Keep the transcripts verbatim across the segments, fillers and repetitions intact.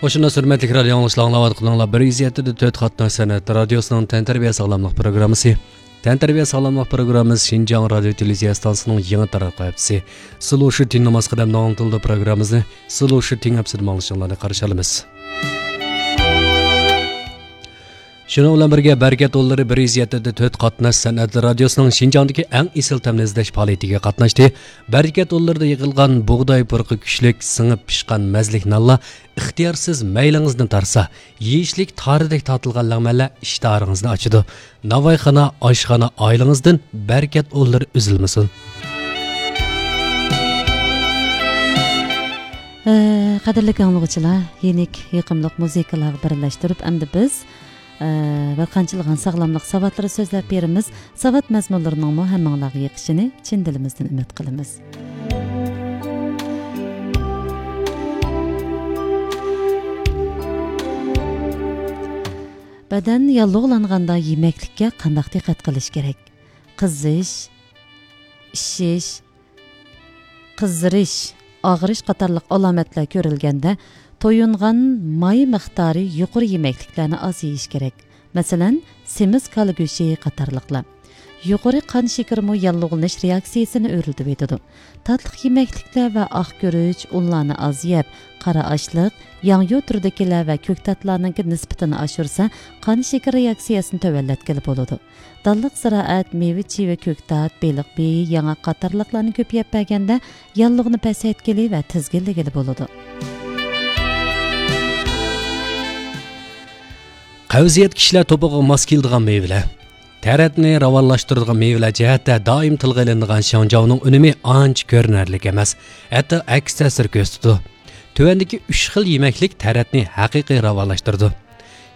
قوشنا ھۆرمەتلىك رادىيو ئاڭلىغۇچىلار، ئاڭلاۋاتقىنىڭلار بىر يۈز يەتتە دە تۆت قاتناش سەنئەت رادىيوسىنىڭ تەنتەربىيە ساغلاملىق پروگراممىسى. تەنتەربىيە ساغلاملىق پروگراممىسى شىنجاڭ رادىيو تېلېۋىزىيە ئىستانسىسىنىڭ يېڭى تارقاق ھەپسى. سىلۇشى تىڭ ناماز قەدەمدە ئاڭلىتىلىدۇ پروگراممىسىنى سىلۇشى تىڭ ھەپسىدە ئاڭلىشىڭلارنى قارشى ئالىمىز. شۇنىڭ بىلەن بىرگە، بەرىكەت ئۇللىرى بىر يۈز يەتتە دە تۆت قاتناش سەنئەت رادىيوسىنىڭ شىنجاڭدىكى ئەڭ ئېسىل تەمنى ئىزدەش پائالىيىتىگە قاتناشتى. بەرىكەت ئۇللىرىدا يىغىلغان بۇغداي پۇرىقى كۈچلۈك، سىڭىپ پىشقان مەززىلىك نانلار ئىختىيارسىز مەيلىڭىزنى تارتسا، يېيىشلىك تارىدەك تارتىلغان لەڭمەنلەر ئىشتىھارىڭىزنى ئاچىدۇ. ناۋايخانا، ئاشخانا ئائىلىڭىزدىن بەرىكەت ئۇللىرى ئۈزۈلمىسۇن. ئە، قەدىرلىك ئاڭلىغۇچىلار، يېنىك يېقىملىق مۇزىكىلارغا بىرلەشتۈرۈپ، ئەمدى بىز، ئە، بىر قانچىلىغان ساغلاملىق ساۋاتلىرى سۆزلەپ بېرىمىز. ساۋات مەزمۇنلىرىنىڭمۇ ھەممىڭلارغا يېقىشىنى چىن دىلىمىزدىن ئۈمىد قىلىمىز. بەدەن ياللۇغلانغاندا يېمەكلىككە قانداق دىققەت قىلىش كېرەك؟ قىزىش، ئىششىش، قىزىرىش، ئاغرىش قاتارلىق ئالامەتلەر كۆرۈلگەندە، تويۇنغان ماي مىقدارى يۇقىرى يېمەكلىكلەرنى ئاز يېيىش كېرەك. مەسىلەن، سېمىز كالا گۆشى قاتارلىقلار. يۇقىرى قان شېكىرىمۇ ياللۇغلىنىش رېئاكسىيىسىنى ئۆرلىتىۋېتىدۇ. تاتلىق يېمەكلىكلەر ۋە ئاق گۈرۈچ، ئۇنلارنى ئاز يەپ، قارا ئاشلىق، ياڭيۇ تۈرىدىكىلەر ۋە كۆكتاتلارنىڭكى نىسبىتىنى ئاشۇرسا، قان شېكىرى رېئاكسىيەسىنى تۆۋەنلەتكىلى بولىدۇ. دانلىق زىرائەت، مېۋە-چېۋە، كۆكتات، بېلىق بېيى، ياڭاق قاتارلىقلارنى كۆپ يەپ بەرگەندە، ياللۇغنى پەسەيتكىلى ۋە تىزگىنلىگىلى بولىدۇ. قەۋزىيەت كىشىلەر توپىغا ماس كېلىدىغان مېۋىلەر. تەرەتنى راۋانلاشتۇرىدىغان مېۋىلەر جەھەتتە دائىم تىلغا ئېلىنىدىغان شاڭجاۋنىڭ ئۈنۈمى ئانچە كۆرۈنەرلىك ئەمەس، ھەتتا ئەكس تەسىر كۆرسىتىدۇ. تۆۋەندىكى ئۈچ خىل يېمەكلىك تەرەتنى ھەقىقىي راۋانلاشتۇرىدۇ.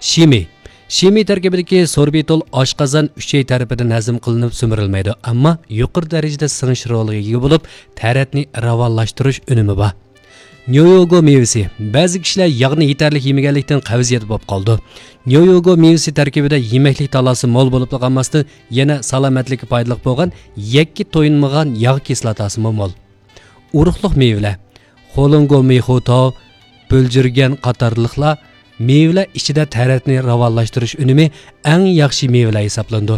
شىمى. شىمى تەركىبىدىكى سوربىتول ئاشقازان، ئۈچەي تەرىپىدىن ھەزىم قىلىنىپ سۈمۈرۈلمەيدۇ، ئەمما يۇقىرى دەرىجىدە سىڭىش رولىغا ئىگە بولۇپ، تەرەتنى راۋانلاشتۇرۇش ئۈنۈمى بار. نيويوگو مېۋىسى. بەزى كىشىلەر ياغنى يېتەرلىك يېمىگەنلىكتىن قەۋزىيەت بولۇپ قالىدۇ. نيويوگو مېۋىسى تەركىبىدە يېمەكلىك تالاسى مول بولۇپلا قالماستىن، يەنە سالامەتلىككە پايدىلىق بولغان يەككە تويۇنمىغان ياغ كىسلاتاسىمۇ مول. ئۇرۇقلۇق مېۋىلەر. خولۇڭگو مىخۇتاۋ، بۆلجۈرگەن قاتارلىقلار مېۋىلەر ئىچىدە تەرەتنى راۋانلاشتۇرۇش ئۈنۈمى ئەڭ ياخشى مېۋىلەر ھېسابلىنىدۇ.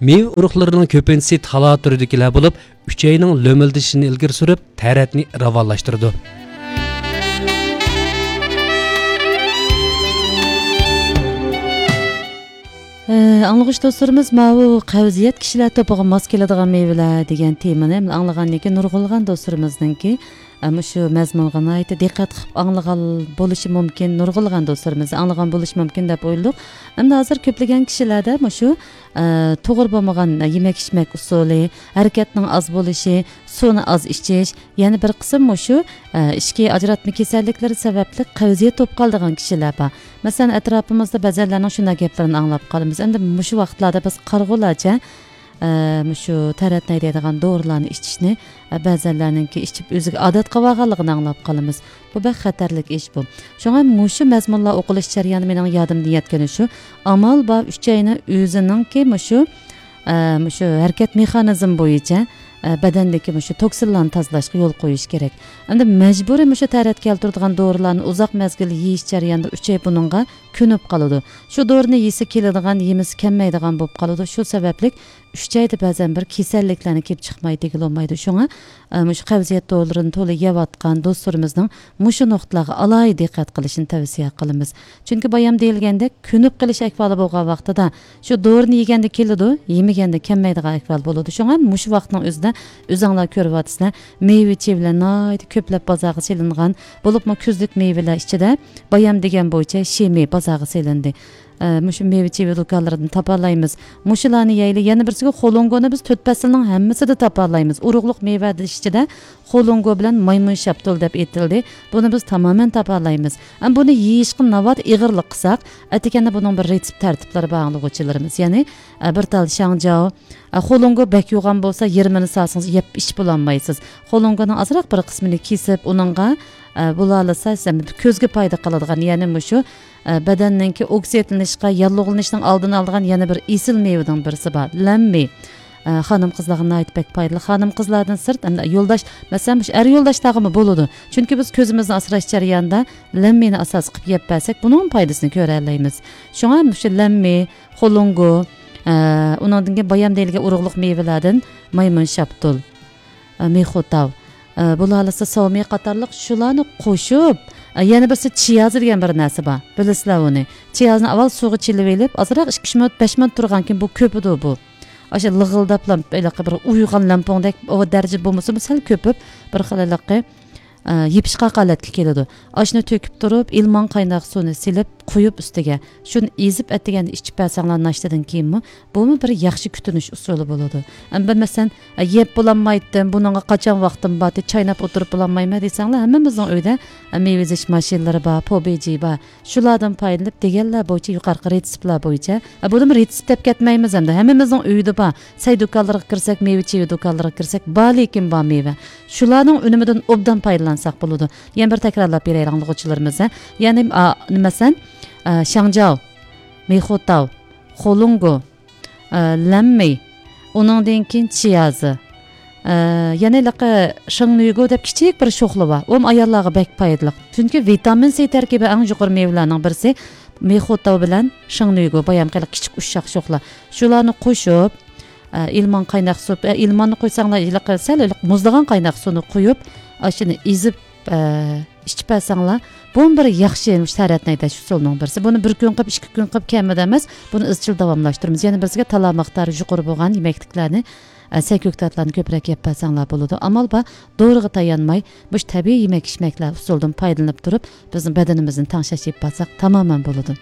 مېۋە ئۇرۇقلىرىنىڭ كۆپىنچىسى تالا تۈرىدىكىلەر بولۇپ، ئۈچەينىڭ لۆمۈلدىشىنى ئىلگىرى سۈرۈپ، تەرەتنى راۋانلاشتۇرىدۇ. ئە، ئاڭلىغۇچى دوستلىرىمىز ماۋۇ قەۋزىيەت كىشىلەر توپىغا ماس كېلىدىغان مېۋىلەر دېگەن تېمىنى ئاڭلىغاندىن كېيىن نۇرغۇنلىغان دوستلىرىمىزنىڭكى، ئە، مۇشۇ مەزمۇنغا ناھايىتى دىققەت قىلىپ ئاڭلىغان بولۇشى مۇمكىن، نۇرغۇنلىغان دوستلىرىمىز ئاڭلىغان بولۇشى مۇمكىن دەپ ئويلىدۇق. ئەمدى ھازىر كۆپلىگەن كىشىلەردە مۇشۇ، ئە، توغرا بولمىغان يېمەك ئىچمەك ئۇسۇلى، ھەرىكەتنىڭ ئاز بولۇشى، سۇنى ئاز ئىچىش، يەنە بىر قىسىم مۇشۇ، ئە، ئىچكى ئاجراتما كېسەللىكلىرى سەۋەبلىك قەۋزىيەت بولۇپ قالىدىغان كىشىلەر بار. مەسىلەن، ئەتراپىمىزدا بەزەنلەرنىڭ شۇنداق گەپلىرىنى ئاڭلاپ قالىمىز. ئەمدى مۇشۇ ۋاقىتلاردا بىز قارىغۇلارچە، ئە، مۇشۇ تەرەتنى ھەيدەيدىغان دورىلارنى ئىچىشنى، ئە، بەزەنلەرنىڭكى ئىچىپ ئۆزىگە ئادەت قىلىۋالغانلىقىنى ئاڭلاپ قالىمىز. بۇ بەك خەتەرلىك ئىش بۇ. شۇڭا مۇشۇ مەزمۇنلار ئوقۇلۇش جەريانى مېنىڭ يادىمدىن يەتكىنى شۇ، ئامال بار ئۈچەينى ئۆزىنىڭكى مۇشۇ، ئە، مۇشۇ ھەرىكەت مېخانىزمى بويىچە، ئە، بەدەندىكى مۇشۇ توكسىنلارنى تازىلاشقا يول قويۇش كېرەك. ئەمدى مەجبۇرىي مۇشۇ تەرەت كەلتۈرىدىغان دورىلارنى ئۇزاق مەزگىل يېيىش جەريانىدا ئۈچەي بۇنىڭغا كۆنۈپ قالىدۇ. شۇ دورىنى يېسە كېلىدىغان، يېمىسە كەلمەيدىغان بولۇپ قالىدۇ. شۇ سەۋەبلىك ئۈچەيدە بەزەن بىر كېسەللىكلەرنى كېلىپ چىقماي دېگىلى بولمايدۇ. شۇڭا، ئە، مۇشۇ قەۋزىيەت دورىلىرىنى تولا يەۋاتقان دوستلىرىمىزنىڭ مۇشۇ نۇقتىلارغا ئالاھىدە دىققەت قىلىشنى تەۋسىيە قىلىمىز. چۈنكى بايام دېيىلگەندەك، كۆنۈپ قېلىش ئەھۋالى بولغان ۋاقتىدا شۇ دورىنى يېگەندە كېلىدۇ، يېمىگەندە كەلمەيدىغان ئەھۋال بولىدۇ. شۇڭا مۇشۇ ۋاقىتنىڭ ئۆزىدە ئۆزۈڭلار كۆرۈۋاتىسىلەر، مېۋە-چېۋىلەر ناھايىتى كۆپلەپ بازارغا سېلىنغان، بولۇپمۇ كۈزلۈك مېۋىلەر ئىچىدە بايام دېگەن بويىچە شىمى بازارغا سېلىندى. ئە، مۇشۇ مېۋە-چېۋە دۇكانلىرىدىن تاپالايمىز. مۇشۇلارنى يەيلى، يەنە بىرسىگە خولۇڭگونى بىز تۆت پەسىلنىڭ ھەممىسىدە تاپالايمىز. ئۇرۇقلۇق مېۋە دېيىش ئىچىدە خولۇڭگو بىلەن مايمۇن شاپتۇل دەپ ئېيتىلدى. بۇنى بىز تامامەن تاپالايمىز. ئەمما بۇنى يېيىشقا ناۋادا ئېغىرلىق قىلساق، ئەتىكەندە بۇنىڭ بىر رېتسېپ تەرتىپلىرى بار ئاڭلىغۇچىلىرىمىز. يەنى، ئە، بىر تال شاڭجاۋ، ئە، خولۇڭگو بەك يوغان بولسا، يېرىمىنى سالسىڭىز يەپ ئىچىپ بولالمايسىز. خولۇڭگونىڭ ئازراق بىر قىسمىنى كېسىپ، ئۇنىڭغا، ئە، بولالىسا، سىز كۆزگە پايدا قىلىدىغان، يەنى مۇشۇ، ئە، بەدەننىڭكى ئوكسىدلىنىشقا، ياللۇغلىنىشنىڭ ئالدىنى ئالىدىغان يەنە بىر ئېسىل مېۋىنىڭ بىرسى بار، لەممى. ئە، خانىم قىزلارغا ناھايىتى بەك پايدىلىق. خانىم قىزلاردىن سىرت، ئەمدى يولداش، مەسىلەن، مۇشۇ ئەر يولداشلارغىمۇ بولىدۇ. چۈنكى بىز كۆزىمىزنى ئاسراش جەريانىدا لەممىنى ئاساس قىلىپ يەپ بەرسەك، بۇنىڭ پايدىسىنى كۆرەلەيمىز. شۇڭا مۇشۇ لەممى، خولۇڭگو، ئە، ئۇنىڭدىن كېيىن بايام دېيىلگەن ئۇرۇقلۇق مېۋىلەردىن مايمۇن شاپتۇل، ئە، مېخۇتاۋ، ئە، بولالىسا ساۋمى قاتارلىق شۇلارنى قوشۇپ، ئە، يەنە بىرسى چىيازى دېگەن بىر نەرسە بار. بىلىسىلەر ئۇنى. چىيازنى ئاۋۋال سۇغا چىلىۋېلىپ، ئازراق ئىككى ئۈچ مىنۇت، بەش مىنۇت تۇرغاندىن كېيىن بۇ كۆپىدۇ بۇ. ئاشۇ لىغىلداپلا ھېلىقى بىر ئۇيۇغان لەمپۇڭدەك ئۇ دەرىجە بولمىسىمۇ، سەل كۆپۈپ، بىر خىل ھېلىقى، ئە، يېپىشقاق ھالەتكە كېلىدۇ. ئاشۇنى تۆكۈپ تۇرۇپ، ئىلمان قايناق سۇنى سېلىپ قۇيۇپ ئۈستىگە، شۇنى ئېزىپ ئەتىگەندە ئىچىپ بەرسەڭلار ناشتىدىن كېيىنمۇ، بۇمۇ بىر ياخشى كۈتۈنۈش ئۇسۇلى بولىدۇ. ئەمدى مەسىلەن، ئە، يەپ بولالمايتتىم، بۇنىڭغا قاچان ۋاقتىم بار، چايناپ ئولتۇرۇپ بولالمايمەن دېسەڭلار، ھەممىمىزنىڭ ئۆيىدە، ئە، مېۋە ئېزىش ماشىنىلىرى بار، پوبېجى بار. شۇلاردىن پايدىلىنىپ، دېگەنلەر بويىچە يۇقىرىقى رېتسېپلار بويىچە، ئە، بۇنىمۇ رېتسېپ دەپ كەتمەيمىز ئەمدى. ھەممىمىزنىڭ ئۆيىدە بار. سەي دۇكانلىرىغا كىرسەك، مېۋە چېۋە دۇكانلىرىغا كىرسەك، بار لېكىن بار مېۋە. شۇلارنىڭ ئۈنۈمىدىن ئوبدان پايدىلانساق بولىدۇ. يەنە بىر تەكرارلاپ بېرەيلى ئاڭلىغۇچىلىرىمىزغا. يەنى، ئا، مەسىلەن، ئە، شاڭجاۋ، مېخۇتاۋ، خولۇڭگو، ئە، لەممى، ئۇنىڭدىن كېيىن چىيازى، ئە، يەنە ھېلىقى شىڭنۈگو دەپ كىچىك بىر شوخلا بار. ئۇمۇ ئاياللارغا بەك پايدىلىق. چۈنكى ۋىتامىن سى تەركىبى ئەڭ يۇقىرى مېۋىلەرنىڭ بىرسى مېخۇتاۋ بىلەن شىڭنۈگو، بايام قېلىق كىچىك ئۇششاق شوخلا. شۇلارنى قوشۇپ، ئە، ئىلمان قايناق سۇ، ئە، ئىلماننى قويساڭلار، ھېلىقى سەل ھېلىقى مۇزلىغان قايناق سۇنى قويۇپ، ئاشۇنى ئېزىپ، ئە، ئىچىپ بەرسەڭلار، بۇمۇ بىر ياخشى مۇشۇ تەرەتنى ھەيدەش ئۇسۇلىنىڭ بىرسى. بۇنى بىر كۈن قىلىپ، ئىككى كۈن قىلىپ كەممىدى ئەمەس، بۇنى ئىزچىل داۋاملاشتۇرىمىز. يەنە بىرسىگە تالا مىقدارى يۇقىرى بولغان يېمەكلىكلەرنى، ئە، سەي كۆكتاتلارنى كۆپرەك يەپ بەرسەڭلار بولىدۇ. ئامال بار، دورىغا تايانماي، مۇشۇ تەبىئىي يېمەك ئىچمەكلەر ئۇسۇلىدىن پايدىلىنىپ تۇرۇپ، بىزنىڭ بەدىنىمىزنى تەڭشەش ئېلىپ بارساق تامامەن بولىدۇ.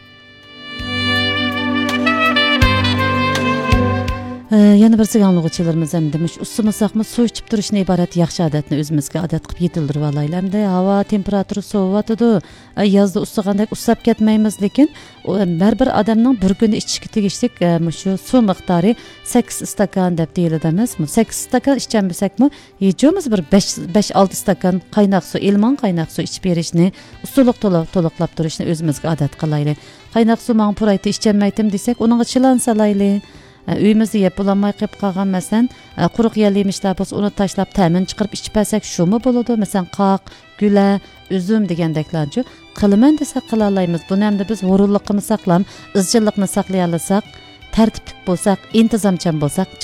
ئە، يەنە بىرسىگە ئاڭلىغۇچىلىرىمىز ئەمدى مۇشۇ ئۇسسىمىساقمۇ سۇ ئىچىپ تۇرۇشتىن ئىبارەت ياخشى ئادەتنى ئۆزىمىزگە ئادەت قىلىپ يېتىلدۈرۈۋالايلى. ئەمدى ھاۋا تېمپېراتۇرىسى سوۋۇۋاتىدۇ. ئە، يازدا ئۇسسىغاندەك ئۇسساپ كەتمەيمىز، لېكىن ئۇ، ھەر بىر ئادەمنىڭ بىر كۈندە ئىچىشكە تېگىشلىك، ئە، مۇشۇ سۇ مىقدارى سەككىز ئىستاكان دەپ دېيىلىدۇ ئەمەسمۇ؟ سەككىز ئىستاكان ئىچەلمىسەكمۇ، ھېچ بولمىسا بىر بەش، بەش، ئالتە ئىستاكان قايناق سۇ، ئىلمان قايناق سۇ ئىچىپ بېرىشنى، ئۇسسۇلۇق تولا-، تولۇقلاپ تۇرۇشنى ئۆزىمىزگە ئادەت قىلايلى. قايناق سۇ ماڭا پۇرايتى ئىچەلمەيتتىم دېسەك، ئۇنىڭغا چىلان سالايلى. ئە، ئۆيىمىزدە يەپ بولالماي قېلىپ قالغان، مەسىلەن، ئە، قۇرۇق يەل يېمىشلەر بولسا، ئۇنى تاشلاپ تەمىنى چىقىرىپ ئىچىپ بەرسەك، شۇمۇ بولىدۇ. مەسىلەن، قاق، گۈلە، ئۈزۈم دېگەندەكلەرچۇ. قىلىمەن دېسەك قىلالايمىز. بۇنى ئەمدى بىز ھۇرۇنلۇققىمۇ ساقلام، ئىزچىللىقنى ساقلىيالىساق، تەرتىپلىك بولساق، ئىنتىزامچان بولساق، چوقۇم